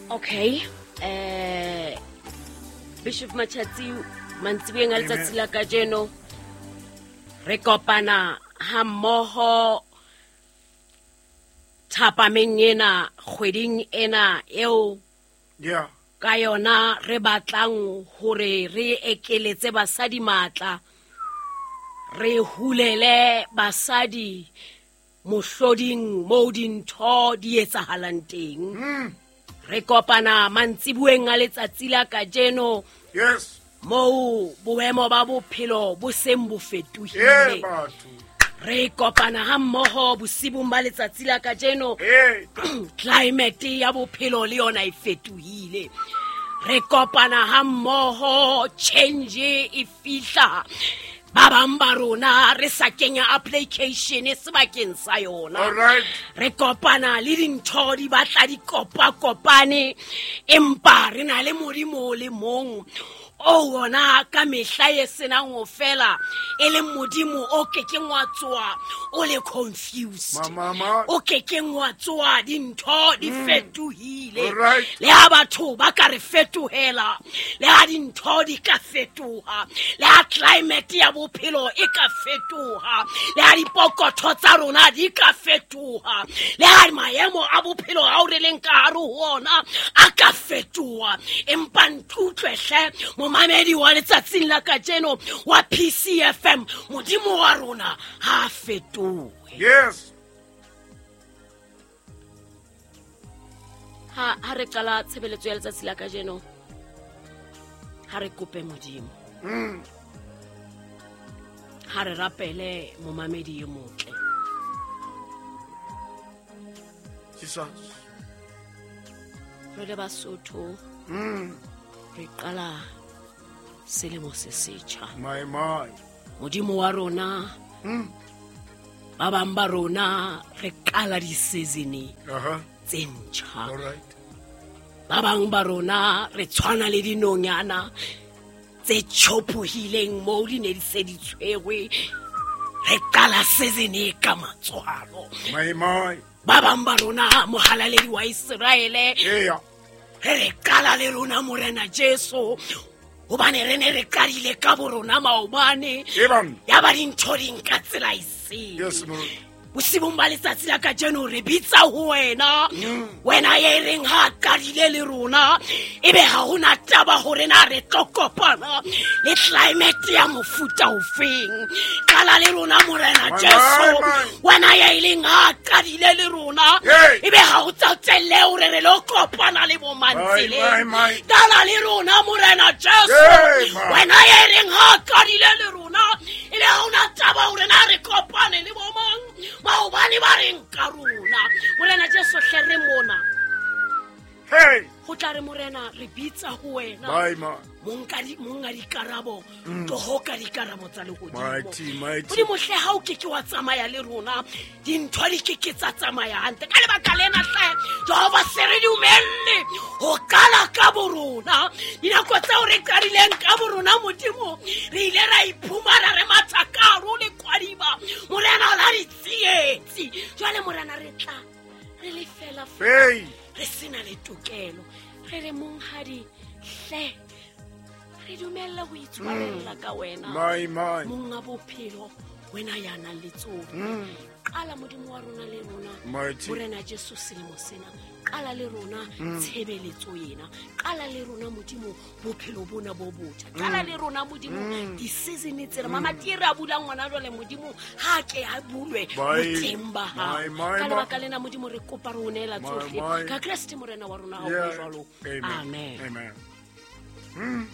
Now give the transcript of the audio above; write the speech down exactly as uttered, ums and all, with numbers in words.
Okay, eh Bishop Machatsi mantsiboeng a letsatsi la kajeno re kopana ha mmoho thapameng ena kgweding ena eo yeah ka yona re batlang hore re ekeletse basadi matla, re hulele basadi mohloding mo dintho di etsahalang teng. Mm. Re kopana mantsiboeng a letsatsi la kajeno. Yes. Mo boemo ba bophelo bo seng bo fetohile. Eh batho. Re kopana ha mmoho bosibung ba letsatsi la kajeno. Eh. Climate ya bophelo le yona e fetohile. Re kopana ha mmoho, change e fihla. Ba bang ba rona re sa kenya application sebakeng sa yona. All right. Re kopana le dintho di batla di kopa-kopane, empa re na le Modimo o le mong o wona ka mehla e senang ho fela, e leng Modimo o kekeng wa tsoa o le confused. Mama, mama. O kekeng wa tsoa dintho di fetohile. All right. Le ha batho ba ka re fetohela, le ha dintho di ka fetoha, le ha climate ya bophelo e ka fetoha, le ha dipokotho tsa rona di ka fetoha, le ha maemo a bophelo ao re leng ka hare ho ona a ka fetoha, empa ntutlwe hle momamedi wa letsatsing la kajeno wa P C F M, Modimo wa rona ha fetohe. Yes. Ha ha re qala tshebeletso ya letsatsi la kajeno, ha re kope Modimo. Mm. Ha re rapele momamedi e motle. Jesus. Re le Basotho. Mm. Re qala selemo se setjha. My my. Modimo wa rona. Mm. Ba bang ba rona re qala di-season Aha. tse ntjha. All right. Ba bang ba rona re tshwana le dinonyana tse tjhophohileng moo di ne di se di tshwerwe. Re qala season e ka matswalo. My my. Ba bang ba rona mohalaledi wa Iseraele. Eya. Re re qala le rona Morena Jesu, hobane re ne re qadile ka bo rona maobane. Ebang. Ya ba dintho di nka tsela e sele. Yes, Lord. Bosibung ba letsatsi la kajeno re bitsa ho wena. Mm. Wena ya e reng ha qadile le rona, ebe ha hona taba hore na re tlo kopana le climate ya mofuta ofeng. Qala le rona Morena My, Jesu. my, my. Wena ya e leng ha qadile le rona, Hey. ebe ha o tsotelle hore re lo kopana le bo My, mantseleng. my, my. Qala le rona Morena Jesu. Hey, my. Wena ya e reng ha qadile le rona, ebe ha hona taba hore na re kopane le bo mang. Maobane ba reng ka rona. Morena Jesu hle re mona. Hey. Ho tla re Morena re bitsa ho wena. My, my. Monka di, monga dikarabo, Mm. tloho ka dikarabo tsa lehodimo. Mighty, mighty. Modimo hle ha o keke wa tsamaya le rona, dintho di keke tsa tsamaya hantle. Ka lebaka lena hle, Jehova se re dumelle ho qala ka bo rona. Dinako tseo re qadileng ka bo rona Modimo, re ile ra iphumana re matha ka hare ho lekwadiba. Morena la ditsietsi. Jwale Morena re tla re le fela fela. Hey. Re sena le tokelo. Re re monghadi hle re dumella ho itshwarella ka wena. My, my. Monga bophelo wena ya nang le tsohle. Mm. Qala Modimo wa rona le rona. Mighty. Morena Jesu selemo sena. Qala le rona Mm. tshebeletso ena. Qala le rona Modimo bophelo bona bo botjha. Qala Mm. le rona Modimo Mm. di-season tsena. Mm. Mama Tira a bulang ngwana jwale Modimo ha ke a bulwe My, boteng ba hao. my, my, Ka my. lebaka lena Modimo re kopa re o neela My, tsohle. my. Ka Kreste Morena wa rona ha o Yeah. jwalo. Amen. Amen. Amen. Mm.